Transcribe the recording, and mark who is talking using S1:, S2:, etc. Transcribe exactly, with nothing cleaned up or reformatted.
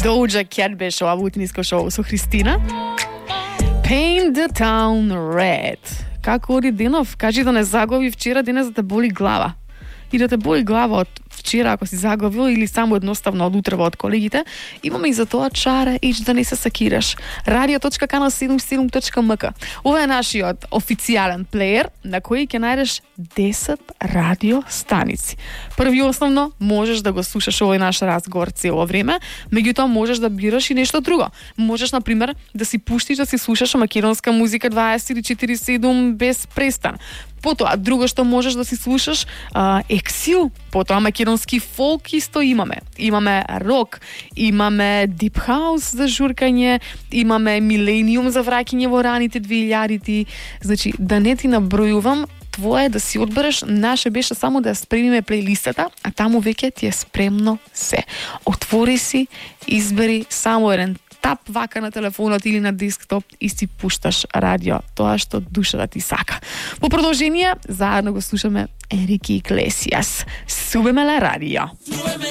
S1: Doja Cat беше ова утниско шоу со Христина. Paint the town red. Како оди денов? Кажи да не загови вчера, денес да те боли глава. И да те боли глава од вчера ако си заговил или само едноставно од утрева од колегите, имаме и за тоа чара ич да не се сакираш. радио точка канал седумдесет и седум точка ем ка. Ова е нашиот официјален плеер на кој ќе најдеш десет радио станици. Први основно можеш да го слушаш овој наш разговор цело време, меѓутоа можеш да бираш и нешто друго. Можеш на пример да си пуштиш да си слушаш македонска музика дваесет и четири седум без престан. Потоа, друго што можеш да си слушаш, а, ексил, потоа македонски фолк исто имаме. Имаме рок, имаме дип хаус за журкање, имаме милениум за враќање во раните две илјадити. Значи, да не ти набројувам, твое да си одбереш, наше беше само да спремиме плейлистата, а таму веќе ти е спремно се. Отвори си, избери само еден тап вака на телефонот или на десктоп и си пушташ радио, тоа што душата ти сака. По продолжение, заедно го слушаме Енрике Иглесиас. Súbeme la radio.